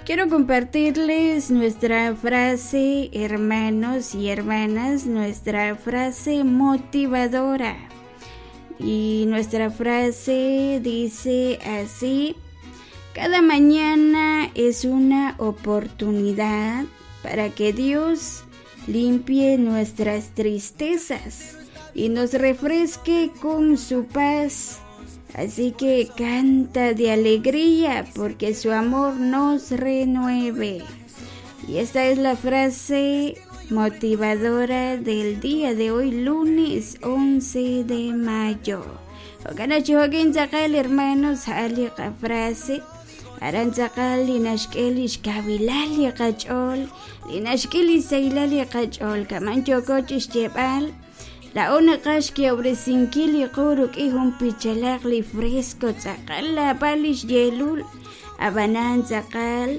Quiero compartirles nuestra frase, hermanos y hermanas, nuestra frase motivadora. Y nuestra frase dice así, cada mañana es una oportunidad para que Dios limpie nuestras tristezas y nos refresque con su paz. Así que canta de alegría porque su amor nos renueve. Y esta es la frase motivadora del día de hoy, lunes 11 de mayo. Hermanos, frase aran tz'aqal li naxk'e li xkawilal li qach'ool li naxk'e li sahilal li qach'ool kaman yooko chi xyeeb'al laa'o naqaj xkehob'resinkil li qu rik'in jun pichalaq li fresco tz'aqal laab'al li xyeelul ab'anan tz'aqal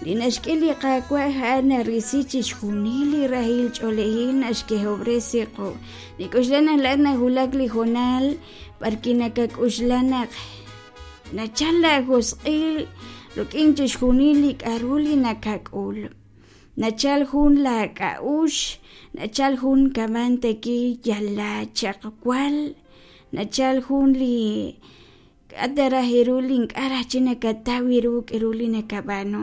li naxk'e li Qaawa' a'an narisi chixjunil li rahil ch'oolejil naxkehob'resi qu nik'uxla naq laa'at nawulak li hoonal b'arwi' nakak'uxla naq Nachal laajosq'il rik'in chixjunil li k'aru li nakak'ul. Nachal jun laak'a'uxl, nachal jun kaman teki yal laachaqwal, nachal jun li k'a' ta raj ru li ink'a' raj chik nakataw ru k'aru li nakab'aanu.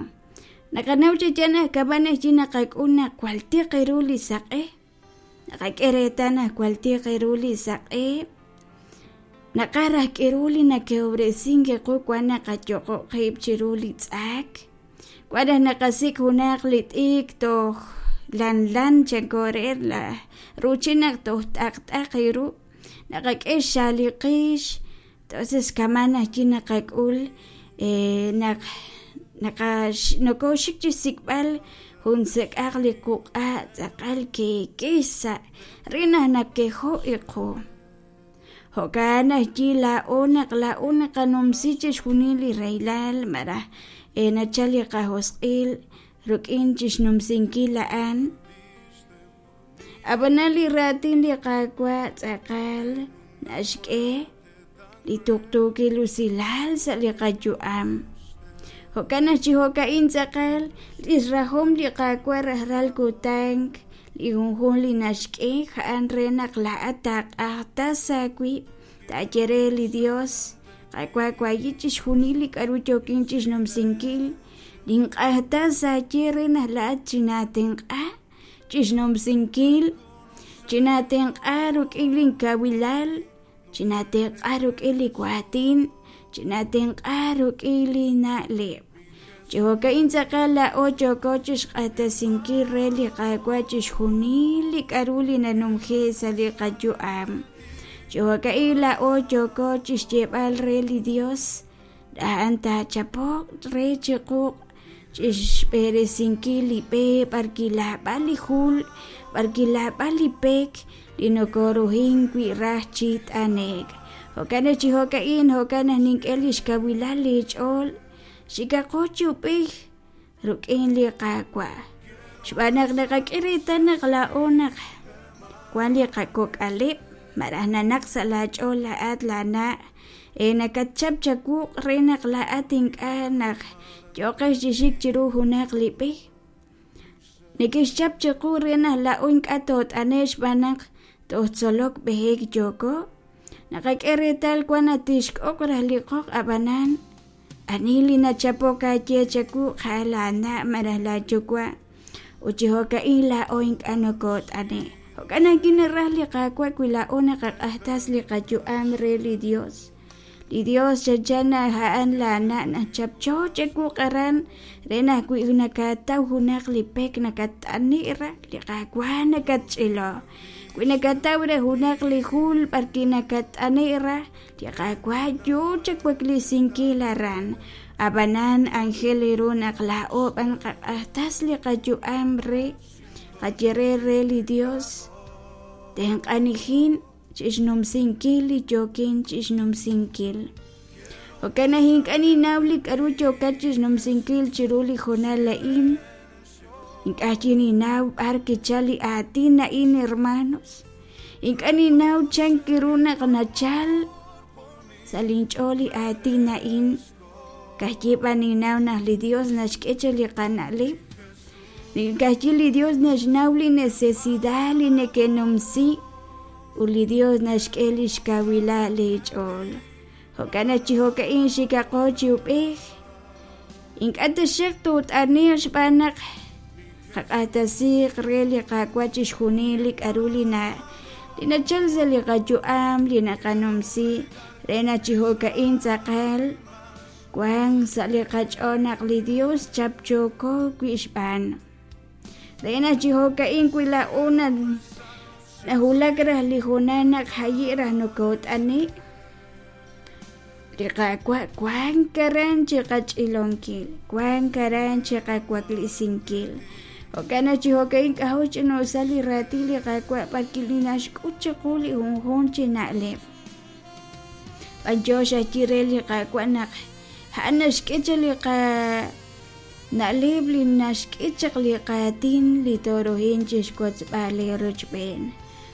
Naqanaw chi yaal naq kab'an aj chik naqak'ul naq jwal tiq ru li saq'e. Naqak'e reetal naq jwal tiq ru li saq'e naqaj raj k'aru li nakehob'resink qu wan naqayoqo' qib' chiru li tz'ak wan raj naqasik' junaq li t'ikr toj lanlan chanko re la ruuchil naq toj t'aqt'aq ru naqak'e xxaal li qix entonces kama'an ajwi' naqak'ul naq nokoxik chi xsik'b'al jun sek'aq li quq'a' tz'aqal keeke xsa' re naq nakejo' iqu jo'kan ajwi' laa'o naq laa'o naqanumsi chixjunil li rahilal malaj nachal li qajosq'il rik'in chixnumsinkil a'an ab'anan li raatin li Qaawa' tz'aqal naxk'e li tuqtuukil usilal sa' li qayu'am. Jo'kan naq chi jo'ka'in tz'aqal li xrahom li Qaawa' rajlal kutan li junjunq li naxk'e a'an re naq laa'at taaq'ajtas aawib' taaye re li Dios Qaawa' waayi' chixjunil li k'aru yookin chixnumsinkil ninq'ajtas aaye re naq laa'at chinaatenq'a chixnumsinkil chinaatenq'a rik'in linkawilal Chinaatenq'a rik'in li waatin, chinaatenq'a rik'in li na'leb'. Chi jo'ka'in tz'aqal laa'o yooko chi xq'axtesinkil re li Qaawa' chixjunil li k'aru li nanumje'k sa' li qayu'am. Chi jo'ka'in laa'o yooko chi xyeeb'al re li Yos, a'an taachapoq re chiqu chi xb'eresinkil li b'e b'arwi' laab'al li jul, b'arwi' laab'al li pek li nokoruhink wi' raj chi t'ane'k. Jo'kan naq chi jo'ka'in jo'kan naq nink'e li xkawilal leech'ool, xikaqo chi ub'ej rik'in li Qaawa'. Xb'aan naq naqak'e reetal naq laa'o naq wank li qakok'aleb' malaj nanaq sa' laach'ool laa'at laana' e nakatchap chawuq' re naq laa'at ink'a' naq yooqex chi xik chiru junaq li b'e. Neke'xchap chiqu re naq laa'o ink'a' toot'ane'q xb'aan naq toj tzolok b'ehek yooko. Naqak'e reetal wan naq tixk'oq raj li qoq ab'anan ani li nachapok aaye chawu a'an laana' malaj laayuwa' ut chi jo'ka'in laa'o ink'a' nokoot'ane'k. Jo'kan naq kinaraj li Qaawa' wi laa'o naqaq'ajtas li qayu'am re li Dios. Li Dios chanchan naq a'an laana' naq chapcho chawuq aran re naq wi nakataw junaq li pek nakatt'ani' raj li Qaawa' nakatch'ilo. Wi nakataw re junaq li jul b'arwi' nakatt'ani' raj li Qaawa' yoo chawaklesinkil aran. Ab'anan anjel ru naq laa'o b'an qaq'ajtas li qayu'am re qaye re re li Dios tenq'anijin chixnumsinkil li yookin chixnumsinkil. Jo'kan naq ink'a' ninnaw li k'aru yookat chixnumsinkil chiru li hoonal a'in. Ink'a' chik ninnaw b'ar kichal li aatin a'in, hermanos. Ink'a' ninnaw chan ru naq nachal sa' linch'ool li aatin a'in. Ka'ajwi' b'an ninnaw naq li Dios naxk'e chaq li qana'leb'. Ka'ajwi' li Dios naxnaw li necesidad li nekenumsi ut li Dios naxk'e lix kawilal eech'ool. Jo'kan naq chi jo'ka'in xikaqo chi ub'ej. Ink'a' taxaq toot'ane'q xb'aan naq qaq'axtesiiq re li Qaawa' chixjunil li k'a'ru li na li nachal sa' li qayu'am li naqanumsi re naq chi jo'ka'in tz'aqal wank sa' li qach'ool naq li Dios chapchooko wi' xb'aan. Re naq chi jo'ka'in wi laa'o nawulak raj li hoonal naq jayi' raj nokoot'ane', li Qaawa' wank aran chi qach'ilonkil, wank aran chi qawaklesinkil. Jo'kan naq chi jo'ka'in k'ajo' xch'ina'usal li raatin li Qaawa' b'arwi' li naxk'ut chiqu li junjunq chi na'leb'. B'anyox ajwi' re li Qaawa' naq a'an naxk'e chaq li qana'leb' li naxk'e chaq li qaatin li tooruhin chi xwotzb'al eerochb'een.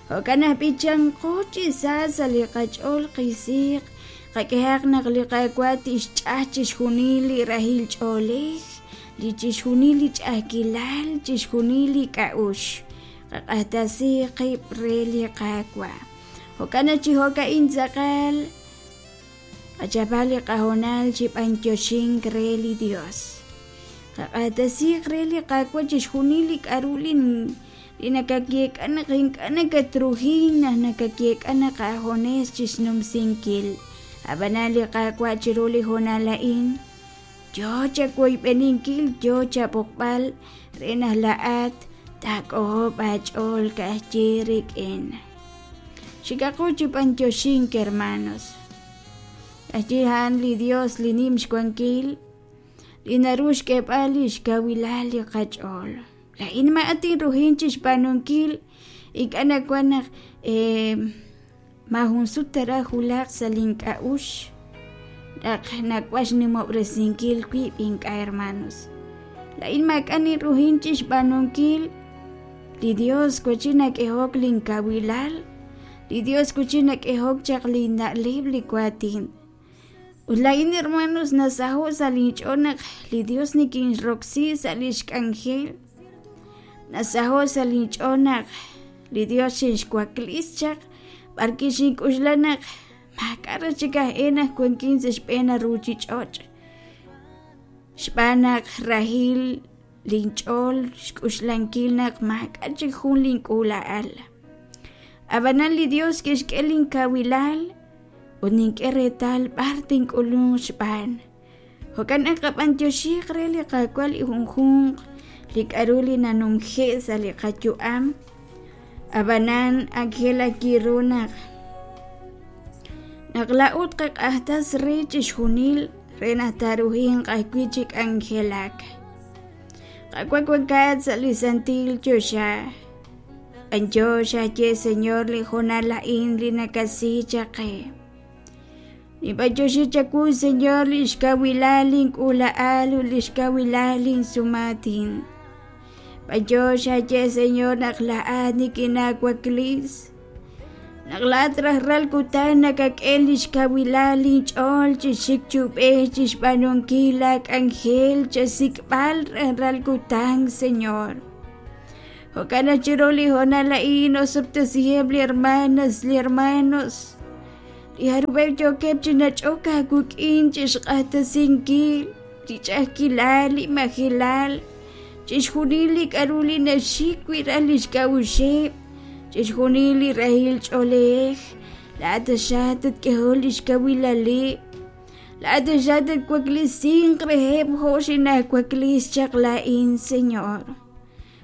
Jo'kan naq b'ichanqo chi sa sa' li qach'ool qisiiq, qak'ehaq naq li Qaawa' tixch'aj chixjunil li rahil ch'oolej, li chixjunil li ch'a'ajkilal, chixjunil li k'a'uxl. Qaq'axtesi qib' re li Qaawa'. Jo'kan naq chi jo'ka'in tz'aqal qachapaq li qahoonal chi b'anyoxink re li Dios. Qaq'axtesiiq re li Qaawa' chixjunil li k'a'ru li li nakayeek'a naq ink'a' nakatruhin naq nakayeek'a naq aajunes chixnumsinkil. Ab'anan li Qaawa' chiru li hoonal a'in yoo chawoyb'eninkil, yoo chab'oqb'al re naq laa'at taak'ojob' aach'ool ka'ajwi' rik'in. Xikaqo chi b'anyoxink, hermanos. Ka'ajwi' a'an li Dios li nim xwankil, li naru xk'eeb'al lix kawilal li qach'ool. Laa'in maa'at inruhin chixb'aanunkil, ink'a' nawan naq maajun sut taraj wulaq sa' lin k'a'uxl naq nawaj xnimob'resinkil wib' ink'a' hermanos. Laa'in maak'a' ninruhin chixb'aanunkil, li Dios wachi nak'ehok lin kawilal, li Dios wachi nak'ehok chaq lin na'leb' li waatin. Ut laa'in hermanos nasaho' sa' linch'ool naq li Dios nikinroksi sa' lix k'anjel. Nasaho' sa' linch'ool naq li Dios xinxwaklis chaq b'arwi' xink'oxla naq maak'a' raj chik aj e naq wankin sa' xb'een ruuchich'och'. Xb'aan naq rahil linch'ool xk'oxlankil naq maak'a' chik jun link'uula'al. Ab'anan li Dios kixk'e linkawilal ut nink'e reetal b'ar tink'ulunq xb'aan. Jo'kan naq qab'anyoxiiq re li Qaawa' li junjunq li k'a'ru li nanumje' sa' li qayu'am. Ab'anan ak jel ru naq naq laa'o tqaq'ajtas re chixjunil re naq taaruhinq ajwi' chi k'anjelak. Qaawa' wankat sa' li santil choxa. B'anyox xaye Señor li hoonal a'in li nakasi chaq qe. Ninb'anyoxi chawu Señor li xkawilal link'uula'al ut li xkawilal linsumaatin. B'anyox xaye Señor naq laa'at nikinaawaklisi. Naq laa'at rajlal kutan nakak'e li xkawilal linch'ool chi xik chi ub'ej chi xb'aanunkil laak'anjel chasik'b'al rajlal kutan Señor. Jo'kan naq chiru li hoonal a'in osob'tesiheb' li hermanas, li hermanos, li jarub'eb' yookeb' chi nach'ok aawik'in chi xq'axtesinkil li ch'a'ajkilal, li majelal, chixjunil li k'a'ru li naxik wi' raj lix k'a'uxeb', chixjunil li rahil ch'oolej, laa'at taxaq tatk'ehol lix kawilaleb', laa'at taxaq tatwaklesinq reheb' jo' xinaawakles chaq laa'in, Señor.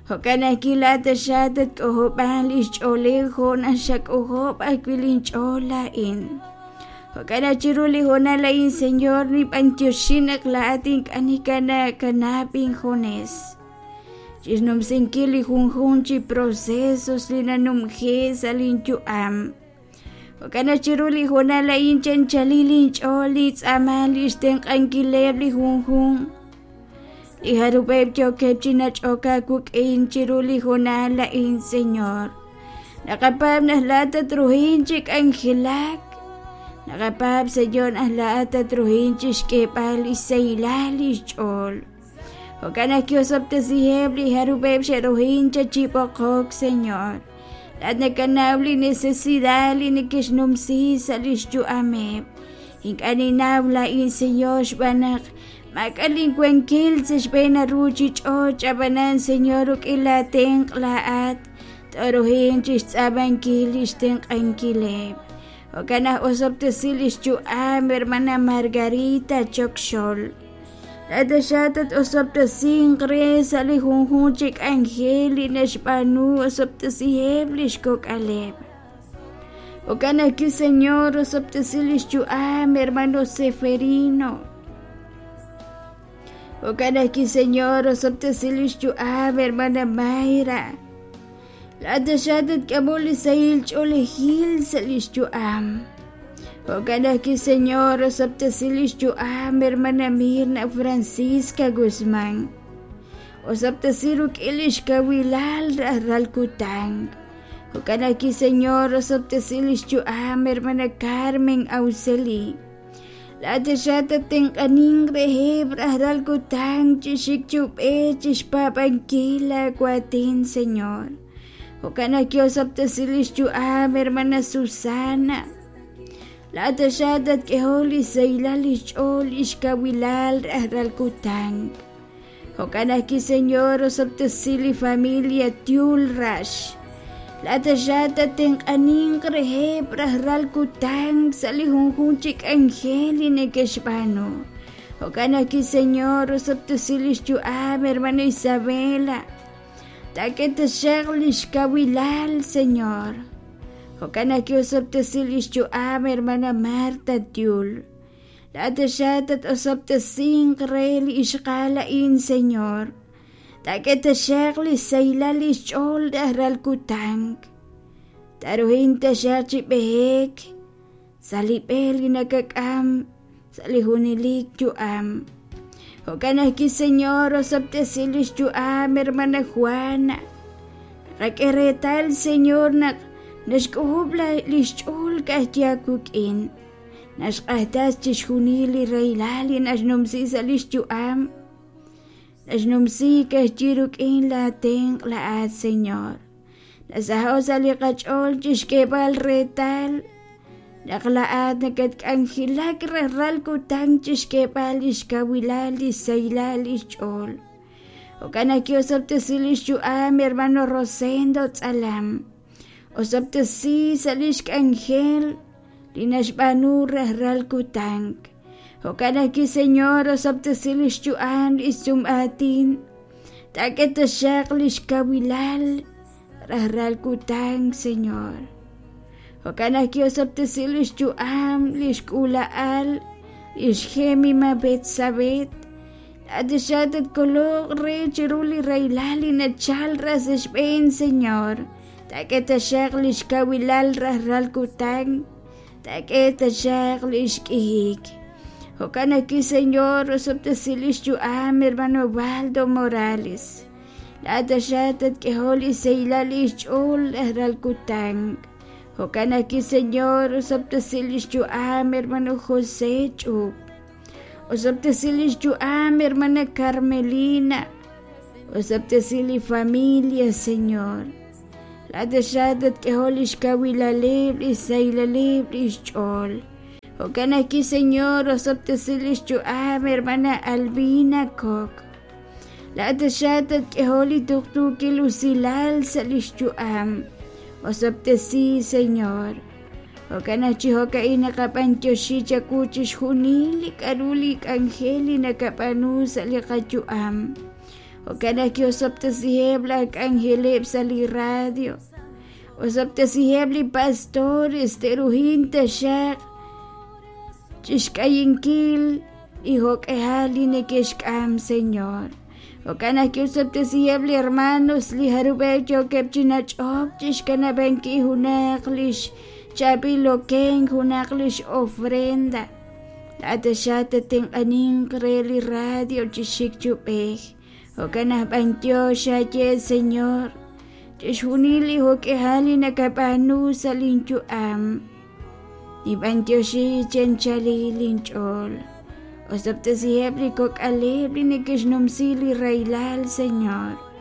Jo'kan ajwi' laa'at taxaq tatk'ojob'an lix ch'oolej jo' naq xak'ojob' ajwi' linch'ool laa'in. Jo'kan naq chiru li hoonal a'in, Señor, ninb'anyoxi naq laa'at ink'a' nikanaakanab' injunes. Chixnumsinkil li junjunq chi procesos li nanumje sa' linyu'am. Jo'kan naq chiru li hoonal a'in chanchalil linch'ool nintz'aama li xtenq'ankileb' li junjunq. Li jarub'eb' yookeb' chi nach'ok aawik'in chiru li hoonal a'in, Señor. Naqapaab' naq laa'at tatruhin chi k'anjelak. Naqapaab' Señor naq laa'at tatruhin chixk'eeb'al lix sahilal lix ch'ool. Jo'kan naq kiosob'tesiheb' li jarub'eb' xe'ruhin chi b'oqok, Señor. Laa'at nakanaw li necesidad li neke'xnumsi sa' lix yu'ameb'. Ink'a' ninnaw laa'in, Señor, xb'aan naq maak'a' linwankil sa' xb'een ruuchich'och', ab'anan, Señor, rik'in laatenq' laa'at tooruhin chixtz'aamankil lix tenq'ankileb'. Jo'kan naq osob'tesi lix yu'am, hermana Margarita Chokxol. Laa'at taxaq tat-osob'tesinq re sa' li junjunq chi k'anjel li naxb'aanu, osob'tesiheb' lix kok'aleb'. Jo'kan ajwi', Señor, osob'tesi lix yu'am, hermano Seferino. Jo'kan ajwi', Señor, osob'tesi lix yu'am, hermana Mayra. Laa'at taxaq tatk'amol li sahil ch'oolejil sa' lix yu'am. Jo'kan ajwi', Señor, osob'tesi lix yu'am, hermana Mirna Francisca Guzmán. Osob'tesi rik'in lix kawilal rajlal kutan. Jo'kan ajwi', Señor, osob'tesi lix yu'am, hermana Carmen Auxeli. Laa'at taxaq tattenq'aninq reheb' rajlal kutan chi xik chi ub'ej chi xpaab'ankil laawaatin, Señor. Jo'kan naq kiosob'tesi lix yu'am, hermana Susana. Laa'at taxaq tatk'ehol li sahilal lix ch'ool lix kawilal rajlal kutan. Jo'kan ajwi', Señor, osob'tesi li familia Tiul Rax. Laa'at taxaq tattenq'aninq reheb' rajlal kutan sa' li junjunq chi k'anjel li neke'xb'aanu. Jo'kan ajwi', Señor, osob'tesi lix yu'am, hermana Isabela. Taak'e taxaq lix kawilal, Señor. Jo'kan ajwi' osob'tesi lix yu'am, hermana Marta Tiul. Laa'at taxaq tat-osob'tesinq re li ixqa'al a'in, Señor. Taak'e taxaq li xsahilal li xch'ool rajlal kutan. Taaruhin taxaq chi b'ehek sa' li b'e li nakak'am sa' li junelik yu'am. Jo'kan ajwi', Señor, osob'tesi li xyu'am, hermana Juana. Naqak'e reetal, Señor, naq naxk'ojob'l li xch'ool ka'ajwi' aawik'in. Naxq'axtas chixjunil li rahilal li naxnumsi sa' li xyu'am. Naxnumsi ka'ajwi' rik'in laatenq' laa'at, Señor. Nasaho' sa' li qach'ool chixk'eeb'al reetal naq laa'at nakatk'anjelak rajlal kutan chixk'eeb'al lix kawilal lix sahilal lix ch'ool. Jo'kan naq kiosob'tesi lix yu'am, hermano Rosendo Tz'alam. Osob'tesi sa' lix k'anjel li naxb'aanu rajlal kutan. Jo'kan ajwi', Señor, osob'tesi li xyu'am li sum'aatin. Taak'e taxaq li xkawilal rajlal kutan, Señor. Jo'kan ajwi' osob'tesi li xyu'am li xk'uula'al li xJemima Betsabet. Laa'at taxaq tatkoloq re chiru li rahilal li nachal raj sa' xb'een, Señor. Taak'e taxaq li xkawilal rajlal kutan, taak'e taxaq li xk'ihik. Jo'kan ajwi', Señor, osob'tesi li xyu'am hermano Waldo Morales. Laa'at taxaq tatk'ehol li xsahilal li xch'ool rajlal kutan. Jo'kan ajwi', Señor, osob'tesi li xyu'am hermano José Ch'up. Osob'tesi li xyu'am hermana Carmelina. Osob'tesi li familia, Señor. Laa'at taxaq tatk'ehol li xkawilaleb', li xsahilaleb' li xch'ool. Jo'kan ajwi', Señor, osob'tesi li xyu'am hermana Albina Kok. Laa'at taxaq tatk'ehol li tuqtuukil usilal sa' li xyu'am. Osob'tesi, Señor. Jo'kan naq chi jo'ka'in naqab'antioxi chawu chixjunil li k'a'ru li k'anjel li nakab'aanu sa' li qayu'am. Jo'kan naq kiosob'tesiheb' laj k'anjeleb' sa' li radio. Osob'tesiheb' li pastores te'ruhin taxaq chixk'ayinkil li jo'k'ihal li neke'xk'am, Señor. Jo'kan naq kiosob'tesiheb' li hermanos li jarub'eb' yookeb' chi nach'ok chixkanab'ankil junaq lix chaab'il okenk, junaq lix ofrenda. Laa'at taxaq tatenq'aninq re li radio chi xik chi ub'ej. Jo'kan naq b'antiox xaye, Señor, chixjunil li jo'k'ihal li nakab'aanu sa' linyu'am. Ninb'antioxi chi anchalil inch'ool. Osob'tesiheb' li kok'aleb' li neke'xnumsi li rahilal, Señor.